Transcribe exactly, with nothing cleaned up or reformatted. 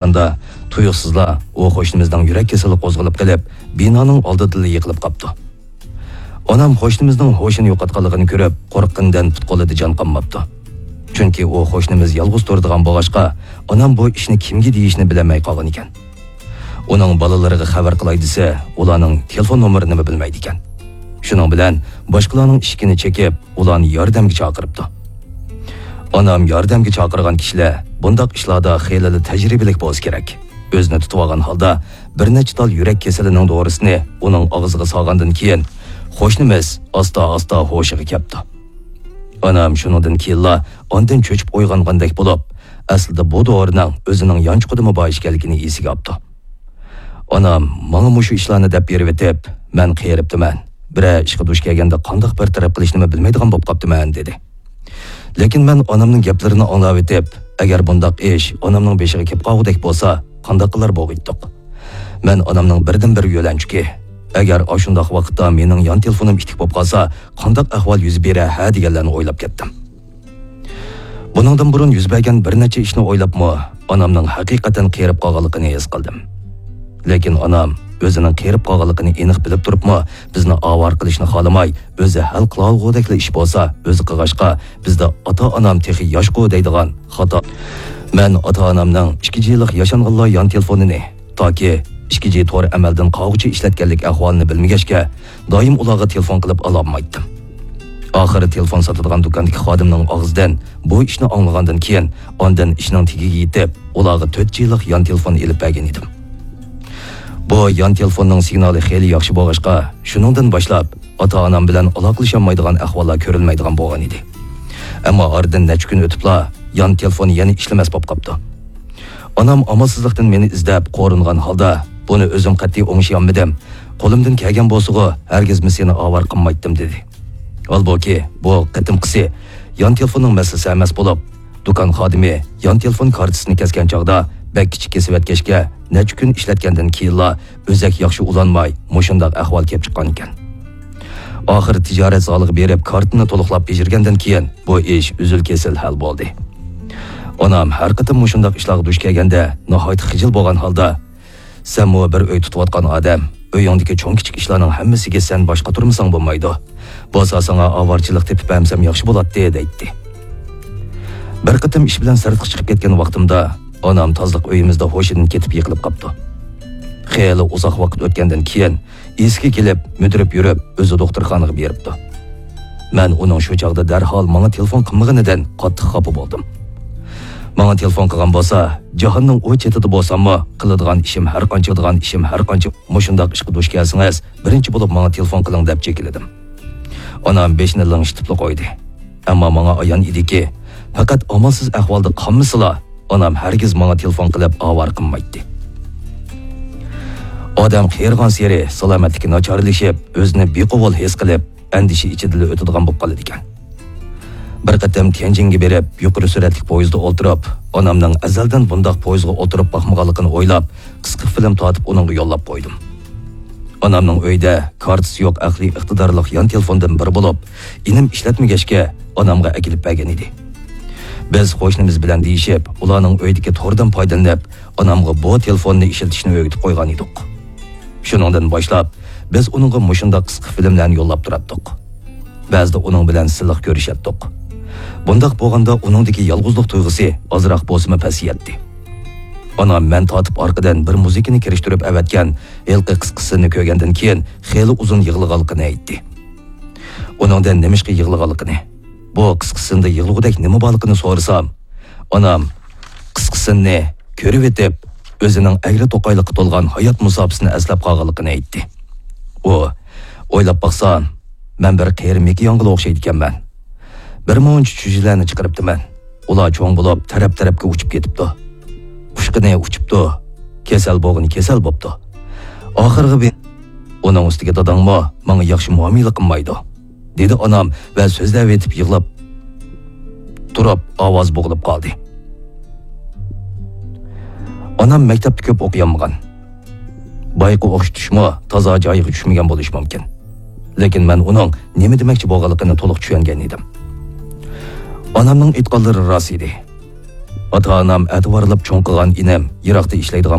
ئاندا تۇيۇقسىزلا ئۇ قوشنىمىزنىڭ يۈرەك كېسىلى قوزغىلىپ قېلىپ، بىنانىڭ ئالدىدىلا يىقىلىپ قاپتۇ. ئانام قوشنىمىزنىڭ ھوشىنى يوقاتقانلىقىنى كۆرۈپ، قورققىنىدىن پۇت-قولىدا جان قالماپتۇ. چۈنكى ئۇ قوشنىمىز يالغۇز تۇرىدىغان بولغاچقا، ئانام بۇ ئىشنى كىمگە دېيىشنى بىلەلمەي قالغانىكەن. ئۇنىڭ بالىلىرىغا خەۋەر قىلاي دېسە، ئۇلارنىڭ تېلېفون نومۇرىنىمۇ بىلمەيدىكەن. شۇنىڭ بىلەن باشقىلارنىڭ ئىشىكىنى چېكىپ، ئۇلارنى ياردەمگە چاقىرىپتۇ. ئانام ياردەمگە چاقىرغان كىشىلەر بۇنداق ئىشلاردا خېلىلا تەجرىبىلىك بولسا كېرەك. ئۆزىنى تۇتۇۋالغان ھالدا بىر نەچچە تال يۈرەك كېسىلىنىڭ دورىسىنى ئۇنىڭ ئاغزىغا سالغاندىن كېيىن، قوشنىمىز ئاستا-ئاستا ھوشىغا كەپتۇ. ئانام شۇنىڭدىن كېيىنلا ئاندىن چۆچۈپ ئويغانغاندەك بولۇپ، ئەسلىدە بۇ دورىنىڭ ئۆزىنىڭ يانچۇقىدىمۇ بار ئىكەنلىكىنى ئېسىگە ئاپتۇ. ئانام ماڭا مۇشۇ ئىشلارنى دەپ بېرىۋېتىپ، مەن قېرىپتىمەن. بىرەر ئىشقا دۇچ كەلگەندە قانداق بىر تەرەپ قىلىشنىمۇ بىلمەيدىغان بولۇپ قاپتىمەن، دېدى. لېكىن مەن ئانامنىڭ گەپلىرىنى ئاڭلاۋېتىپ، ئەگەر بۇنداق ئىش ئانامنىڭ بېشىغا كېلىپ قالغۇدەك بولسا، قانداق قىلار بولغىيتتۇق؟ مەن ئانامنىڭ بىردىنبىر يۆلەنچۈكى، ئەگەر ئاشۇنداق ۋاقىتتا مېنىڭ يان تېلېفونۇم ئىتتىك بولۇپ قالسا، قانداق ئەھۋال يۈز بېرەر ھە دېگەنلەرنى ئويلاپ كەتتىم. بۇنىڭدىن بۇرۇن يۈز بەرگەن بىر نەچچە ئىشنى ئويلاپمۇ، ئانامنىڭ ھەقىقەتەن قېرىپ قالغانلىقىنى ھېس قىلدىم. لېكىن ئانام ئۆزىنىڭ قېرىپ قالغانلىقىنى ئېنىق بىلىپ تۇرۇپمۇ، بىزنى ئاۋارە قىلىشنى خالىماي، ئۆزى ھەل قىلالىغۇدەكلا ئىش بولسا، ئۆزى قىلغاچقا، بىزدە «ئاتا-ئانام تېخى ياشقۇ» دەيدىغان خاتا. مەن ئاتا-ئانامنىڭ ئىككى جىلىق ياشانغانلار يان تېلېفونىنى، تاكى ئىككى جى تور ئەمەلدىن قالغۇچە ئىشلەتكەنلىك ئەھۋالىنى بىلمىگەچكە، دائىم ئۇلارغا تېلېفون قىلىپ ئالالمايتتىم. ئاخىرى تېلېفون ساتىدىغان دۇكاندىكى خادىمنىڭ ئاغزىدىن بۇ ئىشنى ئاڭلىغاندىن كېيىن، ئاندىن ئىشنىڭ تېگىگە يېتىپ، ئۇلارغا تۆت جىلىق يان تېلېفون ئېلىپ بەرگەن ئىدىم. بۇ يان تېلېفوننىڭ سىگنالى خېلى ياخشى بولغاچقا، شۇنىڭدىن باشلاپ ئاتا-ئانام بىلەن ئالاقىلىشالمايدىغان ئەھۋاللار كۆرۈلمەيدىغان بولغان ئىدى. ئەمما ئارىدىن نەچچە كۈن ئۆتۈپلا يان تېلېفون يەنە ئىشلىمەس بولۇپ قاپتۇ. ئانام ئامالسىزلىقتىن مېنى ئىزدەپ، قورۇنغان ھالدا، «بۇنى ئۆزۈم قەتئىي ئوڭشىيالمىدىم. قولۇمدىن كەلگەن بولسىغۇ، ھەرگىزمۇ سېنى ئاۋارە قىلمايتتىم» دېدى. ھالبۇكى، بۇ قېتىمقىسى يان تېلېفوننىڭ مەسىلىسى ئەمەس بولۇپ، دۇكان خادىمى يان تېلېفون كارتىسىنى كەسكەن چاغدا بەك كىچىك كېسىۋەتكەچكە، نەچچە كۈن ئىشلەتكەندىن كېيىنلا ئۆزەك ياخشى ئۇلانماي، مۇشۇنداق ئەھۋال كېلىپ چىققانىكەن. ئاخىرى تىجارەت زالىغا بېرىپ، كارتىنى تولۇقلاپ بېجىرگەندىن كېيىن، بۇ ئىش ئۈزۈل-كېسىل ھەل بولدى. ئانام ھەر قېتىم مۇشۇنداق ئىشلارغا دۇچ كەلگەندە، ناھايىتى خىجىل بولغان ھالدا، «سەنمۇ بىر ئۆي تۇتۇۋاتقان ئادەم، ئۆيۈڭدىكى چوڭ-كىچىك ئىشلارنىڭ ھەممىسىگە سەن باش قاتۇرمىساڭ بولمايدۇ. بولسا ساڭا ئاۋارىچىلىق تېپىپ بەرمىسەم ياخشى بولاتتى» دەيتتى. بىر قېتىم ئىش بىلەن سىرتقا چىقىپ كەتكەن ۋاقتىمدا، ئانام تازىلىق ئۆيىمىزدە ھوشىدىن كېتىپ يىقىلىپ قاپتۇ. خېلى ئۇزاق ۋاقىت ئۆتكەندىن كېيىن، ئېسىگە كېلىپ، مۈدۈرۈپ يۈرۈپ، ئۆزى دوختۇرخانىغا بېرىپتۇ. مەن ئۇنىڭ شۇ چاغدا دەرھال ماڭا تېلېفون قىلمىغىنىدىن قاتتىق خاپا بولدۇم. ماڭا تېلېفون قىلغان بولسا، جاھاننىڭ ئۇ چېتىدە بولساممۇ، قىلىدىغان ئىشىم ھەر قانچە، قىلىدىغان ئىشىم ھەر قانچە، مۇشۇنداق ئىشقا دۇچ كەلسىڭىز، بىرىنچى بولۇپ ماڭا تېلېفون قىلىڭ دەپ چېكىلدىم. ئانام بېشىنى لىڭشىتىپلا قويدى. ئەمما ماڭا ئايان ئىدىكى، پەقەت ئامالسىز ئەھۋالدا قالمىسىلا، ئانام ھەرگىز ماڭا تېلېفون قىلىپ ئاۋارە قىلمايتتى. ئادەم قېرىغانسېرى سالامەتلىكى ناچارلىشىپ، ئۆزىنى بىقوۋۇل ھېس قىلىپ، ئەندىشە ئىچىدىلا ئۆتىدىغان بولۇپ قالىدىكەن. بىر قېتىم تيەنجىنگە بېرىپ، يۇقىرى سۈرئەتلىك پويىزدا ئولتۇرۇپ، ئانامنىڭ ئەزەلدىن بۇنداق پويىزغا ئولتۇرۇپ باقمىغانلىقىنى ئويلاپ، قىسقا فىلىم تارتىپ ئۇنىڭغا يوللاپ قويدۇم. ئانامنىڭ ئۆيىدە كارتىسى يوق ئەقلىي ئىقتىدارلىق يان تېلېفوندىن بىرى بولۇپ، ئىنىم ئىشلەتمىگەچكە، ئانامغا ئەكېلىپ بەرگەن ئىدى. بىز قوشنىمىز بىلەن دېيىشىپ، ئۇلارنىڭ ئۆيىدىكى توردىن پايدىلىنىپ، ئانامغا بۇ تېلېفوننى ئىشلىتىشنى ئۆگىتىپ قويغان ئىدۇق. شۇنىڭدىن باشلاپ، بىز ئۇنىڭغا مۇشۇنداق قىسقا فىلىملەرنى يوللاپ تۇراتتۇق. بەزىدە ئۇنىڭ بىلەن سىلىق كۆرۈشەتتۇق. بۇنداق بولغاندا ئۇنىڭدىكى يالغۇزلۇق تۇيغۇسى ئازراق بولسىمۇ پەسىيەتتى. ئانام مەن تارتىپ ئارقىدىن بىر مۇزىكىنى كىرىشتۈرۈپ ئەۋەتكەن ھېلىقى قىسقىسىنى كۆرگەندىن كېيىن خېلى ئۇزۇن يىغلىغانلىقىنى ئېيتتى. ئۇنىڭدىن نېمىشقا يىغلىغانلىقىنى، بۇ قىسقىسىندا يىغلىغۇدەك نېمە بارلىقىنى سورىسام، ئانام قىسقىسىنى كۆرۈۋېتىپ، ئۆزىنىڭ ئەگرى-توقايلىققا تولغان ھايات مۇساپىسىنى ئەسلەپ قالغانلىقىنى ئېيتتى. ئۇ، ئويلاپ باقسام، مەن بىر قېرى مېكى ياڭگىلا ئوخشايدىكەنمەن. بىر مۇنچە چۈجىلەرنى چىقىرىپتىمەن. ئۇلار چوڭ بولۇپ، تەرەپ-تەرەپكە ئۇچۇپ كېتىپتۇ. ئۇچقىنى ئۇچۇپتۇ، كېسەل بولغىنى كېسەل بوپتۇ. ئاخىرىغا بىر، ئۇنىڭ ئۈستىگە داداڭمۇ ماڭا ياخشى مۇئامىلە قىلمايدۇ، دېدى ئانام ۋە سۆزلەۋېتىپ يىغلاپ تۇرۇپ ئاۋازى بوغۇلۇپ قالدى. ئانام مەكتەپتە كۆپ ئوقۇيالمىغان. بايىقى ئوخشىتىشمۇ تازا جايىغا چۈشمىگەن بولۇشى مۇمكىن. لېكىن مەن ئۇنىڭ نېمە دېمەكچى بولغانلىقىنى تولۇق چۈشەنگەن ئىدىم. ئانامنىڭ ئېيتقانلىرى راست ئىدى. ئاتا-ئانام ئەتىۋارلاپ چوڭ قىلغان ئىنىم يىراقتا ئىشلەيدىغان